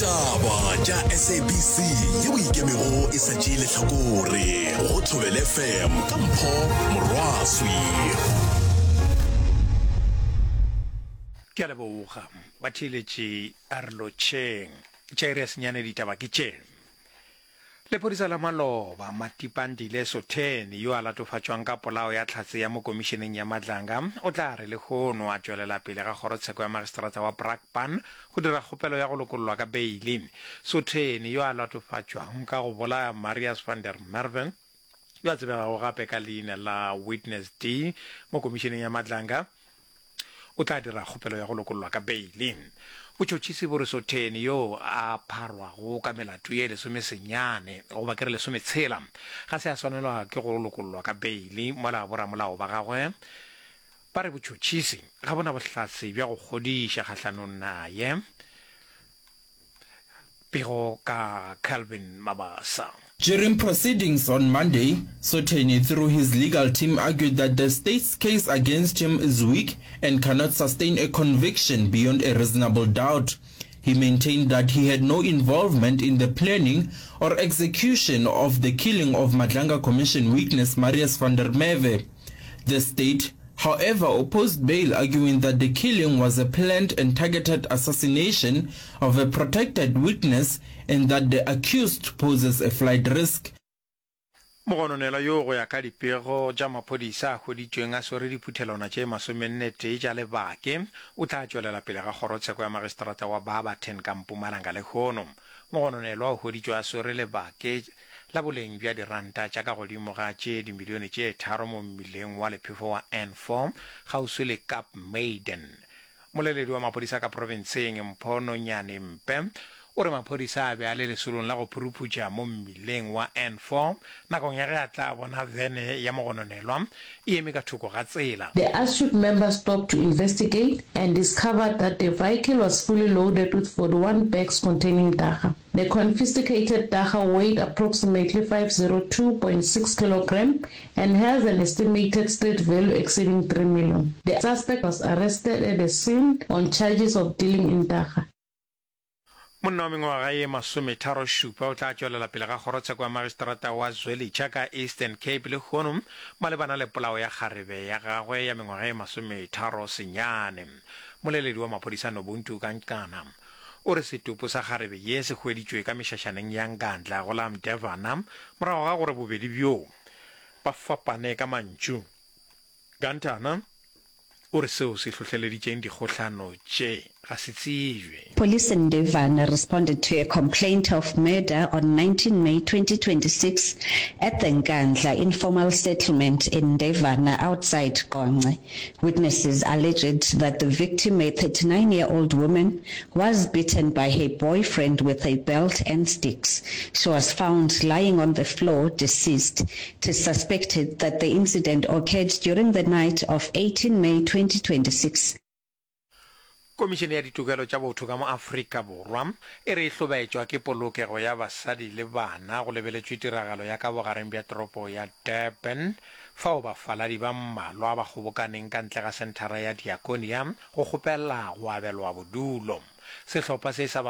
Ditaba tša SABC yeo e ikemego e sa tšee lehlakore go Thobela FM ka Mpho Morwaswi. Ke a leboga batheeletši a re lotšheng. Tša iri ya senyane ditaba ke tše. Lephodisa la maloba, Matipandile Sotheni, yo a latofatšwang ka polao ya hlatse ya mo komišeneng ya Madlanga, o tla re lehono a tšwelela pele ga kgorotsheko ya magistrata wa Brakpan go dira kgopelo ya go lokollwa ka beili. Sotheni, yo a latofatšwang ka go bolaya Marius van der Merwe, yo a tsebegago gape ka leina la Witness D mo komišeneng ya Madlanga, o tla dira kgopelo ya go lokollwa ka beili. Botšhotšhisi bo re Sotheni yo a pharwago ka melato ye lesomesenyane goba ke re lesometshela ga se a swanelwa ke go lokollwa ka beili mola boramolao ba gagwe ba re botšhotšhisi ga bo na bohlatse bja go kgodiša kgahlanong naye. Pego ka Calvin Mabasa. During proceedings on Monday, Sotheni through his legal team argued that the state's case against him is weak and cannot sustain a conviction beyond a reasonable doubt. He maintained that he had no involvement in the planning or execution of the killing of Madlanga Commission witness Marius van der Merwe. The state, however, opposed bail, arguing that the killing was a planned and targeted assassination of a protected witness and that the accused poses a flight risk. Mogononelwa yo go ya ka dipego tša maphodisa a hweditšweng a swere diphuthelwana tše masomennetee tša lebake, o tla tšwelela pele ga kgorotsheko ya magistrata wa Barberton ka Mpumalanga lehono. Mogononelwa o hweditšwe a swere lebake la boleng bja diranta tša ka godimo ga tše dimilione tše tharo mo mmileng wa lephefo wa N4 kgauswi le Kaapmuiden. Moleledi wa maphodisa ka profenseng, Mpho Nonyane Mpe, o re maphodisa a be a le lesolong la go phuruphutša mo mmileng wa N4 nakong ya ge a tla bona vene ya mogononelwa e eme ka thoko ga tsela. The ASRIC member stopped to investigate and discovered that the vehicle was fully loaded with 41 bags containing dagga. The confiscated dagga weighed approximately 502.6 kilogram and has an estimated street value exceeding 3 million. The suspect was arrested at the scene on charges of dealing in dagga. Monna wa mengwaga ye masometharošupa o tla tšwelela pele ga kgorotsheko ya magistrata wa Zwelitsha ka Eastern Cape lehono malebana le polao ya kgarebe ya gagwe ya mengwaga ye masometharosenyane. Moleledi wa maphodisa Nobuntu Kankana o re setopo sa kgarebe ye se hweditšwe ka mešašaneng ya Nkandla go la Mdevana morago ga gore bobedi bjoo ba fapane ka mantšu. Gantana o re seo se hlohleleditšeng dikgohlano tše ga se tsebje. Police in Ndevana responded to a complaint of murder on 19 May 2026 at the Nkandla informal settlement in Ndevana outside Qonce. Witnesses alleged that the victim, a 39-year-old woman, was beaten by her boyfriend with a belt and sticks. She was found lying on the floor, deceased. It is suspected that the incident occurred during the night of 18 May 2026. Komišene ya Ditokelo tša Botho ka mo Afrika Borwa e re e hlobaetšwa ke polokego ya basadi le bana go lebeletšwe tiragalo ya ka bogareng bja toropo ya Durban fao bafaladi ba mmalwa ba kgobokaneng ka ntle ga senthara ya Diakonia go kgopela go abelwa bodulo. Sehlopha se sa.